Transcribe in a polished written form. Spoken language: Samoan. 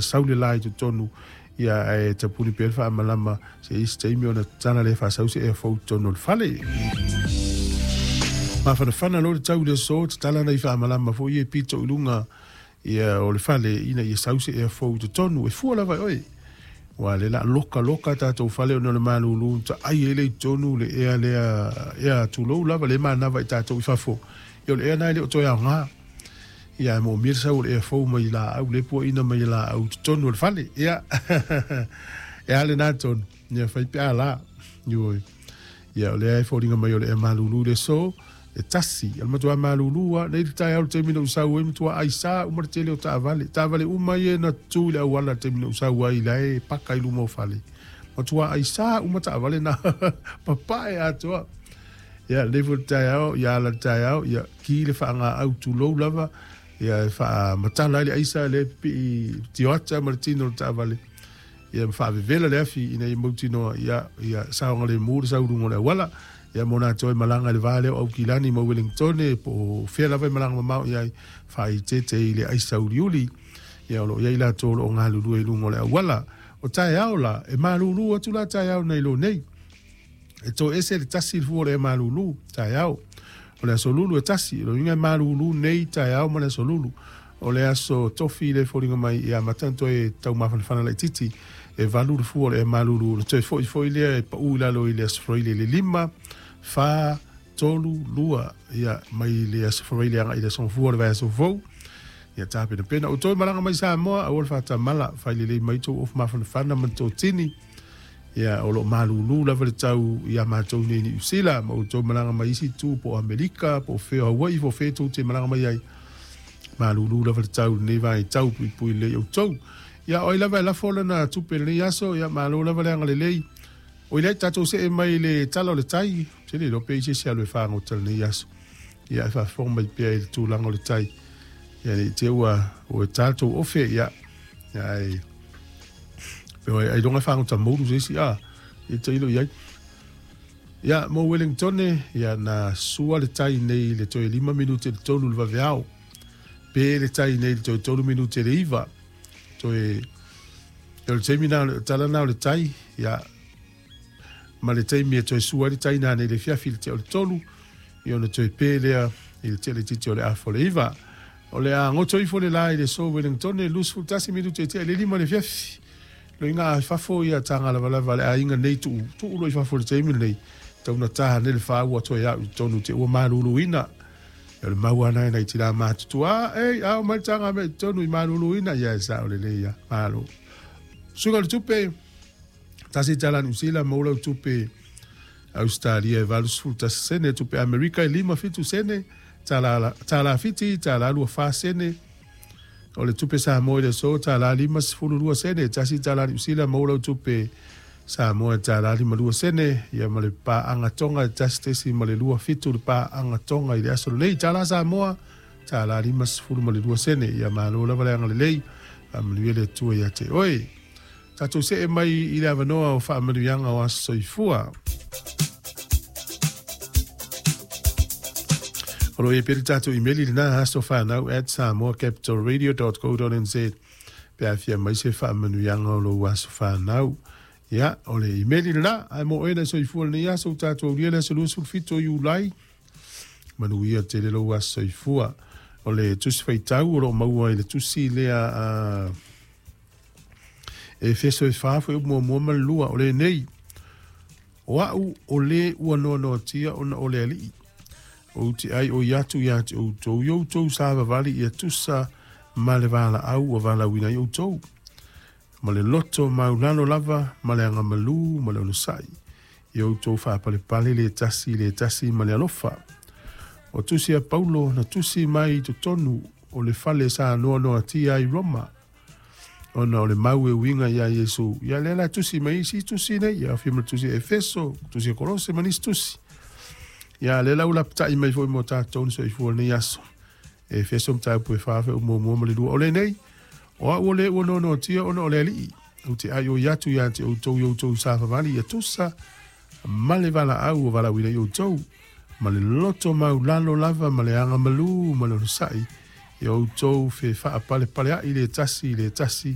Sau le la i totonu, ia ae tapuni pea le faamalama se isi taimi ona tatala lea faasau se ea fou i totonu o le fale. Mafanafana loa le tau i le aso, tatala nai faamalama foi ia e pito i luga ia o le fale ina ia sau se ea fou i totonu. E fua lava e oe. Aua o lea o le a loka loka tatou fale ona o le malulu na taai ai lea i totonu le ea lea, ea tulou lava lea e manava i tatou i fafo. Ia o le ea lena e le o toe aoga. Ia ae moomia le sau o le ea fou mai laau lea e puaina mai e laau i totonu o le fale. Ia e a lena tonu, ia fai pe a la. Ioe. Ia o lea e foliga mai o le ea malulu i le aso e tasi. O le matua malulu lava nei le taeao i le taimi na ou sau ai, matua aisa uma le tele o taavale. Taavale uma ia na tutu i le auala i le taimi na ou sau ai, la e paka i luma o fale. Matua aisa uma taavale na papae atoa. Ia, lenei foi le taeao, ia ala le taeao, ia ki le faagaau tulou lava, ia e faamatala ai le aisa lea e pipii tioata ma le tino o le taavale, ia ma faavevela le afi ina ia mautinoa, ia, ia saogalemu le sau i luga o le auala. Ia mo latou e malaga i le va lea o Aukilani ma Uelingitone, po o fea lava e malaga mamao i ai, faaeteete i le aisa uliuli, ia o lo o i ai latou o lo o galulue i luga o le auala. O taeao la, e malulu atu la taeao nai lo nei. E toe ese le tasi le fua o le ea malulu, taeao. O le aso lulu e tasi, o le uiga e malulu nei taeao ma le aso lulu. O le aso tofi le foliga mai ia amata ona toe taumafanafana laititi, e valu le fua o le ea malulu, ona toe foi foi lea e pau i lalo i le aso Faraile i le lima, fa, tolu, lua, ia, mai le aso Faraile agai i le aso Gafua o le vaiaso fou. Ia tapenapena outou e malaga mai Samoa, aua le faatamala, fai lelei mai tou ofu mafanafana ma le totini. Ia, o lo o malulu lava le tau iā matou nei i Niu Sila, ma outou malaga mai isi itu, po o Amerika, po o fea o Hawaii, po o fea tou te malaga mai ai, malulu lava le tau i lenei vaitau puipui lelei outou. Ia, o ai lava e lafo lana tupe i lenei aso, ia malo lava le agalelei. Oi lea, tatou see mai i le tala o le tai, ou te le iloa pe i ai se isi alu e fagota i lenei aso. Ia, ae faafofoga mai pea i le tulaga o le tai. Ia, ne i te i ua ua ta le tou ofe, ia, ia ae Ailoga e fagota moulu se isi, a, ia tailo i ai. Ia, mo Wellingtone, ia, na sua le tai nei i le toe 5 minute i le 3 le vaveao. Pe le tai nei i le toe 3 minute i le 9. Toe, ia o le taimi na, o le tala na o le tai, ia, ma le taimi e toe sua ai le tai nanei i le afiafi i le tea o le 3, ia ona toe pe lea i le tea laitiiti o le afa o le 9. O le a goto ifo le la i le aso Wellingtone, 21 minute e tea i le 5 i le afiafi. Loiga a i fafo ia taga lavalava a le aiga nei tuu, tuu loa i fafo i le taimi lenei, tau na taha nei le fa ua toe au i totonu te ua maluluina. Ia o le mau lava na e nai tina matutua, a, ei, ao mai le taga mea i totonu i maluluina, ia e sao lelei ia, malo. Suiga o le tupe, tasi tala Niu Sila, maua lau tupe Ausetalia e 81 sene, tupe Amerika e 57 sene, tala, tala Fiti, tala 24 sene, o le tupe Samoa i le aso, tala 52 sene, tasi tala Niu Sila, maua lau tupe Samoa e tala 52 sene, ia ma le paaga Tonga e 1.27 le paaga Tonga i le aso lenei, tala Samoa, tala 52 sene, ia malo lava le agalelei, faamanuia le Atua ia te oe. Tatou see mai i le avanoa o faamanuiaga o aso soifua. O lo o i ai pea le tatou imeli lena asofanau@samoacapitalradio.co.nz pe a fia mai se faamanuiaga o lou aso fanau. Ia, o le imeli lena, ae mo oe na soifua lenei aso, ua tatou aulia le aso 27 o Iulai. Manuia tele lou aso soifua. O le tusi faitau o lo o maua i le tusi lea a Efeso e fa foi upu muamua ma le lua, o lenei, O a'u o lē ua noanoatia ona o le Alii, ou te ai oi atu iā te outou i outou savavali ia tusa ma le valaau ua valaauina ai outou, ma le loto maulalo lava ma le agamalū ma le onosai, ia outou faapalepale le tasi i le tasi ma le alofa. O tusi a Paulo na tusi mai i totonu o le fale sa noanoatia ai Roma, ona o le mau e uiga iā Iesu. Ia lea la tusi mai isi tusi nei, ia aofia ma le tusi a Efeso, tusi a Kolose ma nisi tusi. Ia lea la ua lapatai mai foi mo tatou na soifua i lenei aso. Efeso mataupu e fa fe muamua ma le lua. O lenei, o au o le ua noanoatia ona o le Alii, ou te aioi atu ia te outou i outou savavali ia tusa ma le valaau ua valaauina ai outou, ma le loto maulalo lava ma le agamalū ma le onosai, ia outou fe faapalepaleaʻi le tasi i le tasi